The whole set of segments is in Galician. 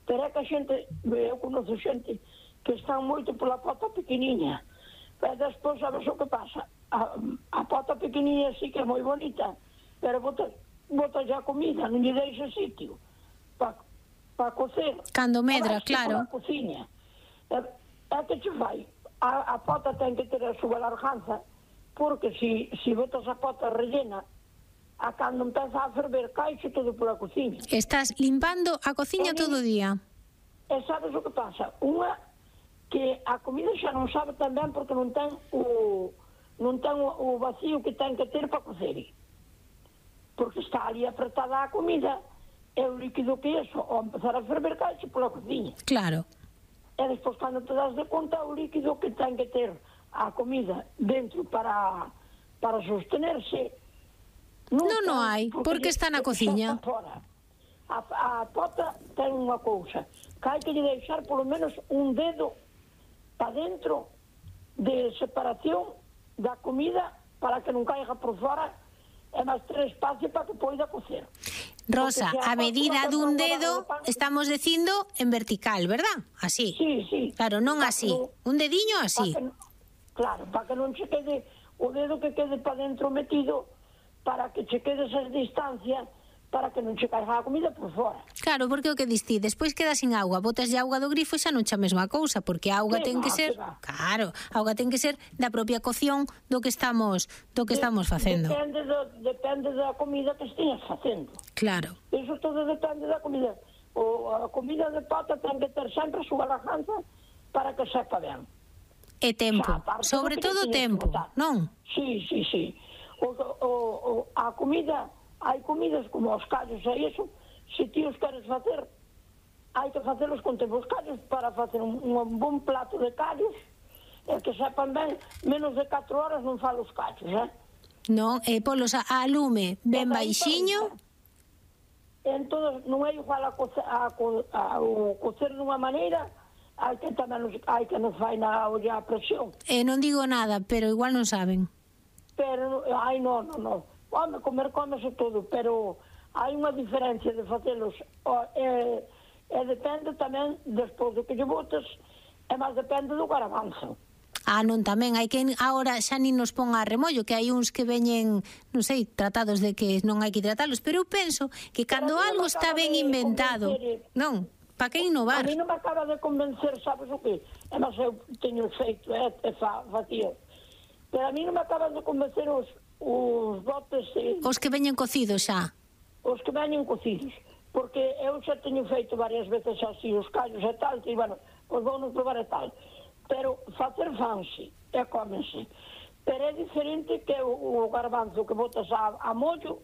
Pero é que a xente, eu conheço xente que están moito pola pota pequeniña. Pero despois, sabes o que pasa? A pota pequeniña sí que é moi bonita, pero bota a comida, non lle deixa sitio para cocer. Cando medra, claro. A cociña. É que che fai? A pota ten que ter a súa larganza, porque se botas a pota rellena, a cando empeza a ferver, caixe todo pola cociña. Estás limpando a cociña todo o día. E sabes o que pasa? Unha, que a comida xa non sabe tan ben porque non ten o vacío que ten que ter para cocer. Porque está ali apretada a comida, e o líquido que é eso, ao empezar a ferver, caixe pola cociña. Claro. E despois, cando te das de conta, o líquido que ten que ter a comida dentro para sostenerse, non hai, porque está na cociña. A pota ten unha cousa, que hai que lle deixar polo menos un dedo para dentro de separación da comida para que non caiga por fora e máis ter espacio para que poida cocer. Rosa, a medida dun dedo estamos dicindo en vertical, verdad? Así. Sí. Claro, non así. Un dediño así. Claro, para que non se quede o dedo que quede para dentro metido, para que che quede esa distancia, para que non che caiga a comida por fora. Claro, porque o que diste, despois queda sin auga, botas de auga do grifo e xa non xa a mesma cousa, porque a auga ten que ser, claro, a auga ten que ser da propia cocción do que estamos facendo. Depende da comida que esteas facendo. Claro. Eso todo depende da comida. A comida de pata ten que ter sempre a súa lajanza para que sepa ben. E tempo, sobre todo tempo, non? Sí. A comida, hai comidas como os callos e iso, se ti os queres facer, hai que facelos con tempo. Os callos, para facer un bon plato de callos, e que sepan ben, menos de 4 horas non falo os callos, Non, e polos a lume ben baixiño. Entón, non é igual a cocer dunha maneira, hai que nos fai na olla a presión. Non digo nada, pero igual non saben. Pero, non. Home, comese todo, pero hai unha diferencia de facelos, e depende tamén, despois do que lle botes, e máis depende do garbanzo. Non, tamén, hai que agora xa nin nos pon a remollo, que hai uns que veñen, non sei, tratados de que non hai que tratalos, pero eu penso que cando algo está ben inventado, non, para que innovar? A mí non me acaba de convencer, sabes o que? E máis eu teño feito, facía. Pero a mí non me acaban de convencer os botes... Os que veñen cocidos xa. Os que veñen cocidos. Porque eu xa teño feito varias veces así os callos e tal, e, bueno, pois vou non probar e tal. Pero facer fanse e cómense. Pero é diferente que o garbanzo que botas a mollo,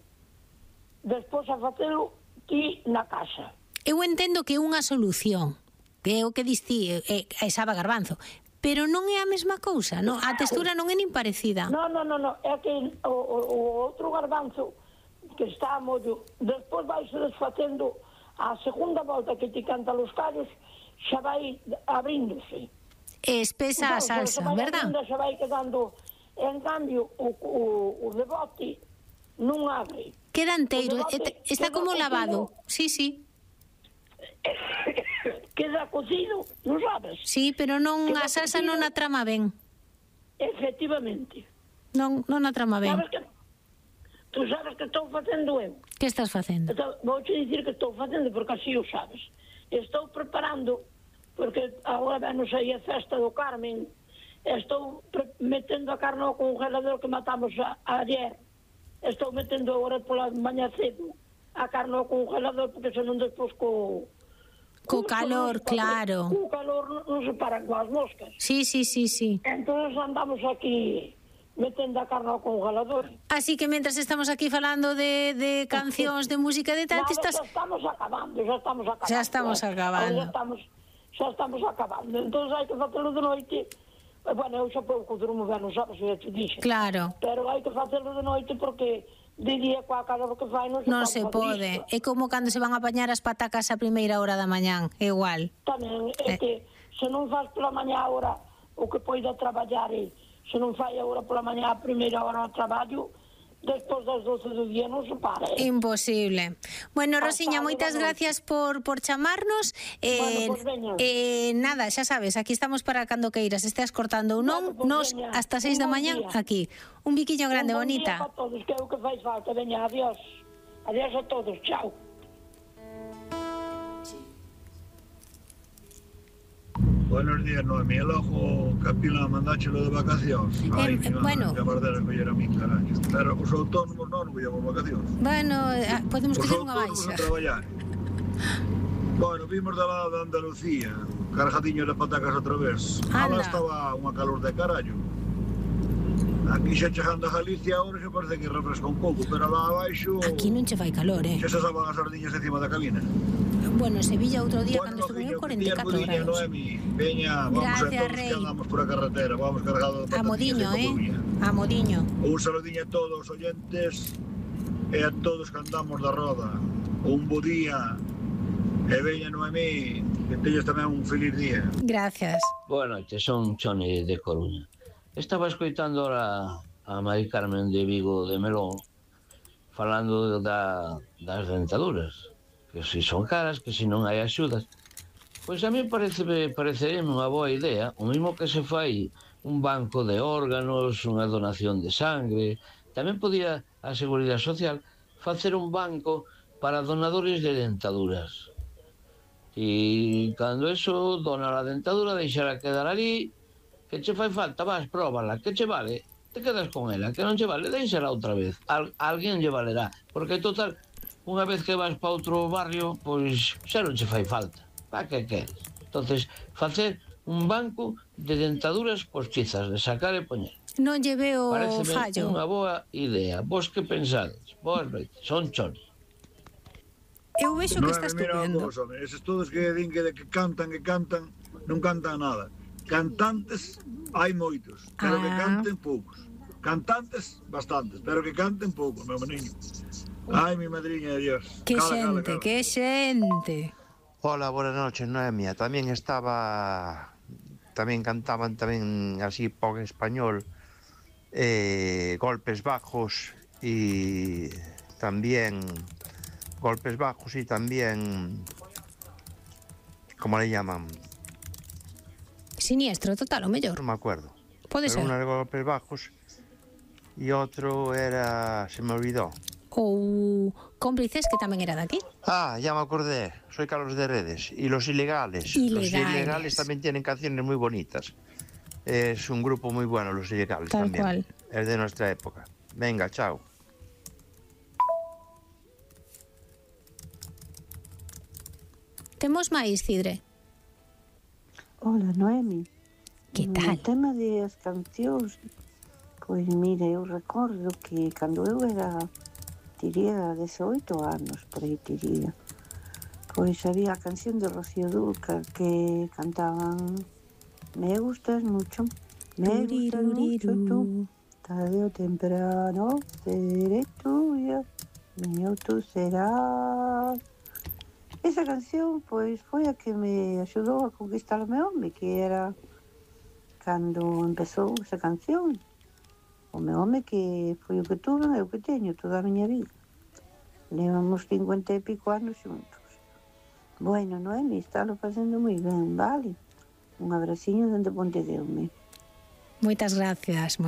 despois a facelo ti na casa. Eu entendo que é unha solución, que é o que diste, é sabe garbanzo, pero non é a mesma cousa, non? A textura non é nin parecida. Non, é que o outro garbanzo que está a mollo, despois vai se desfacendo a segunda volta que ti canta os callos, xa vai abríndose. Espesa a salsa, verdad? Se vai quedando, en cambio, o de bote non abre. Queda enteiro, está como lavado. Sí. Queda cocido, non sabes? Sí, pero non a salsa non a trama ben. Efectivamente. Non a trama ben. Tú sabes que estou facendo eu. Que estás facendo? Vou te dicir que estou facendo, porque así o sabes. Estou preparando, porque agora non sei a festa do Carmen, estou metendo a carne ao congelador que matamos ayer. Estou metendo agora pola mañá cedo a carne ao congelador, porque senón despois co calor, claro. Co calor non se paran coas moscas. Sí. Entón andamos aquí metendo a carne ao congelador. Así que mentras estamos aquí falando de cancións, de música, de tal, Xa estamos acabando. Xa estamos acabando. Entón hai que facelo de noite. Bueno, eu xa pouco durmo ben, non sabes, eu te dixe. Claro. Pero hai que facelo de noite porque de día coa calor que fai non se pode. É como cando se van a apañar as patacas a primeira hora da mañán, é igual. Tamén, é que se non faz pola mañá hora o que poida traballar, se non fai agora pola mañá a primeira hora ao traballo, despois das 12 do día non se para. Imposible. Bueno, Rosiña, moitas gracias por chamarnos. Nada, xa sabes, aquí estamos para cando queiras, estés cortando ou non, nos hasta 6 da mañá aquí. Un biquiño grande, bonita. Un bom día para todos, que é o que faz falta. Veña, adiós. Adiós a todos, chao. Buenos días, Noemi. El ojo capila mandáchelo de vacacións. Ai, bueno. Que bardera que era a min, caraño. Pero os autónomos non íamos vacacións. Bueno, podemos coger unha baixa. Os autónomos a traballar. Bueno, vimos da lado de Andalucía, cargadiño de patacas outra vez. Alá estaba unha calor de carallo. Aquí xa chegando a Galicia ahora xa parece que refresca un pouco, pero lá abaixo... Aquí non che fai calor, Xa se saban as sardiñas encima da cabina. Bueno, Sevilla outro día cando estuve en 44 grados. Noemi, veña, vamos a todos que andamos por a carretera, vamos cargados de patatillas. A modiño, a modiño. Un saludiño a todos os oyentes e a todos que andamos da roda. Un bo día. E veña, Noemi, que teñas tamén un feliz día. Gracias. Boa noite, son Choni de Coruña. Estaba escoitando ahora a Mari Carmen de Vigo de Melón falando das dentaduras, que se son caras, que se non hai axudas. Pois a mí parecería unha boa idea, o mesmo que se fai un banco de órganos, unha donación de sangre. Tamén podía a Seguridade Social facer un banco para donadores de dentaduras. E cando eso dona a dentadura, deixará quedar ali, que che fai falta, vas, próbala, que che vale, te quedas con ela, que non che vale, deixala outra vez, alguén lle valerá, porque total, unha vez que vas para outro barrio, pois xa non che fai falta, para que queres? Entonces, facer un banco de dentaduras postizas, de sacar e poñer. Non lle veo fallo. Pareceme unha boa idea. Vos que pensades? Boas noites, son Choni. Eu vexo que está estupendo. Eses todos que din que cantan, non cantan nada. Cantantes hai moitos, pero que canten poucos. Cantantes, bastantes, pero que canten poucos, meu meniño. Ai, mi madriña de Dios. Que xente, que xente. Hola, buenas noches, Noemia. Tamén cantaban tamén así pop español, golpes bajos y tamén ¿cómo le llaman? Siniestro total, o mellor. No me acuerdo. Pode ser. Uno era golpes bajos y otro era, se me olvidó. Ou Cómplices, que tamén era daqui. Ah, ya me acordé, soy Carlos de Redes. Y Los Ilegales. Los Ilegales también tienen canciones muy bonitas. Es un grupo muy bueno, Los Ilegales tal también. Cual. Es de nuestra época. Venga, chao. Temos máis, Cidre? Hola, Noemi. Que tal? O tema das cancións, pois mira, eu recordo que cando eu tiría 18 anos, por aí tiría, pois había a canción de Rocío Dúrcal que cantaban Me gustas mucho tú, tarde o temprano seré tuya, mío tú serás. Esa canción, pois, foi a que me axudou a conquistar o meu home, que era cando empezou esa canción. O meu home que foi o que tuve, é o que teño toda a miña vida. Levamos 50 e pico anos xuntos. Bueno, Noemi, estálo facendo moi ben, vale? Un abraciño dende Pontedeume. Moitas gracias,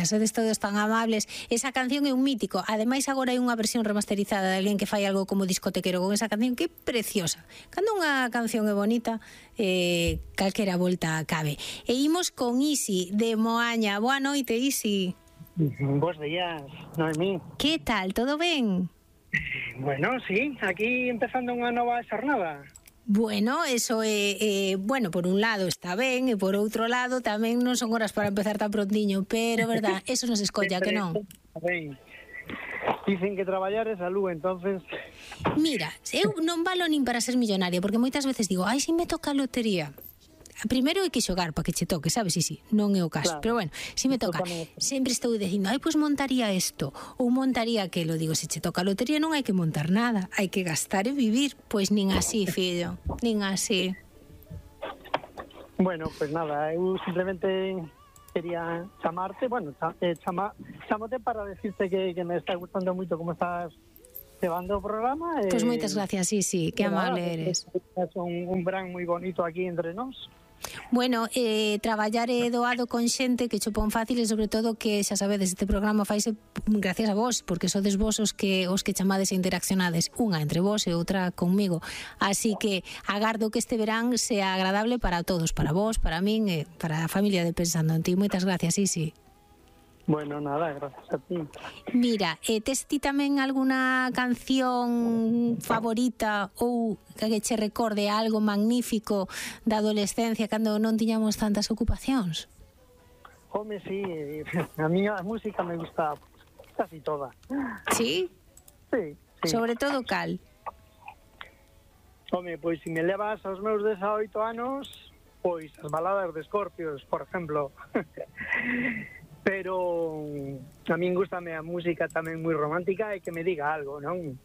sodes todos tan amables. Esa canción é un mítico. Ademais, agora hai unha versión remasterizada de alguén que fai algo como discotequero con esa canción que é preciosa. Cando unha canción é bonita, calquera volta cabe. E imos con Isi de Moaña. Boa noite, Isi. Bos días, Noemí. Que tal, todo ben? Bueno, sí, aquí empezando unha nova xornada. Bueno, eso bueno, por un lado está ben e por outro lado tamén non son horas para empezar tan prontiño, pero verdad, eso non se escolla, que non? Ben. Dicen que traballar é salud, entonces... Mira, eu non valo nin para ser millonaria, porque moitas veces digo, ai, se me toca a lotería. Primeiro hai que xogar para que che toque, sabes? Sí, non é o caso, claro. Pero bueno, se me toca, sempre estou dicindo, ai, pois montaría isto, ou montaría aquelo. Digo, se che toca a lotería non hai que montar nada, hai que gastar e vivir. Pois nin así, fillo, nin así. Bueno, pois nada, eu simplemente quería chamarte, chamote para decirte que me está gustando moito como estás llevando o programa. Pois moitas gracias, sí, que amable eres. É un brand moi bonito aquí entre nós. Bueno, traballar é doado con xente que chopón fácil e sobre todo que, xa sabedes, este programa faise gracias a vos, porque sodes vos os que chamades e interaccionades, unha entre vos e outra conmigo. Así que agardo que este verán sea agradable para todos, para vos, para min e para a familia de Pensando en Ti. Moitas gracias, Isi. Bueno, nada, gracias a ti. Mira, tes ti tamén alguna canción favorita ou que che recorde algo magnífico da adolescencia cando non tiñamos tantas ocupacións? Home, sí, a miña música me gusta casi toda. Sí? Sí. Sobre todo cal? Home, pois se me levas aos meus 18 anos, pois as baladas de Scorpions, por exemplo. Pero a min gustame a música tamén moi romántica e que me diga algo, non?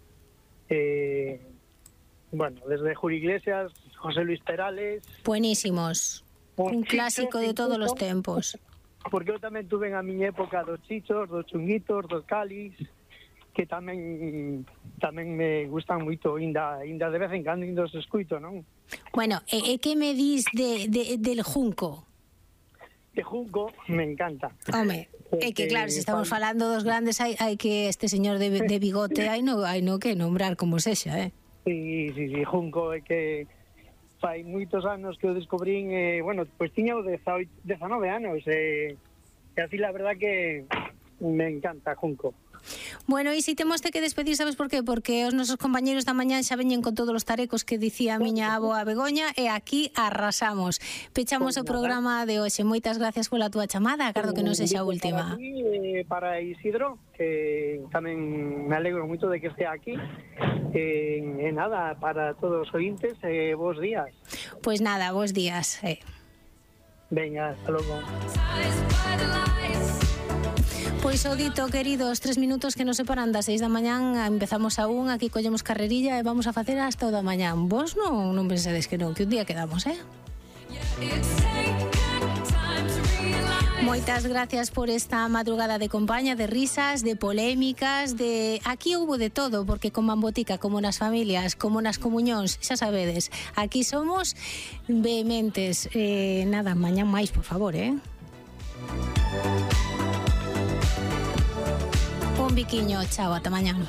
Bueno, desde Julio Iglesias, José Luis Perales... Buenísimos. Un clásico de todos os tempos. Porque eu tamén tuve a miña época dos Chichos, dos Chunguitos, dos Calis, que tamén me gustan moito, ainda de vez en cando os escuito, non? Bueno, e que me dis del Junco? De Junco me encanta. Home, é que claro, se estamos falando dos grandes, hai que este señor de bigote hai no que nombrar como sexa, Sí, Junco é que fai moitos anos que o descubrín, bueno, pois tiña 19 anos, e así la verdad que me encanta Junco. Bueno, e si temos que despedir, sabes por qué? Porque os nosos compañeros da mañá xa veñen con todos os tarecos que dicía a miña avoa Begoña e aquí arrasamos. Pechamos o programa de hoxe. Moitas gracias pola túa chamada, agardo que non sexa a última. Para Isidro, que tamén me alegro moito de que estea aquí. E nada, para todos os ointes, bons días. Pois nada, bons días. Venga, hasta logo. Pois o dito, queridos, 3 minutos que nos separan das 6 da mañán, empezamos a 1, aquí collemos carrerilla e vamos a facer hasta o da mañán. Vos non pensedes que non, que un día quedamos, Moitas gracias por esta madrugada de compañía, de risas, de polémicas, de... Aquí houbo de todo, porque como en botica, como nas familias, como nas comuñóns, xa sabedes, aquí somos vehementes. Nada, mañán máis, por favor, Un biquiño, chao, ata mañán.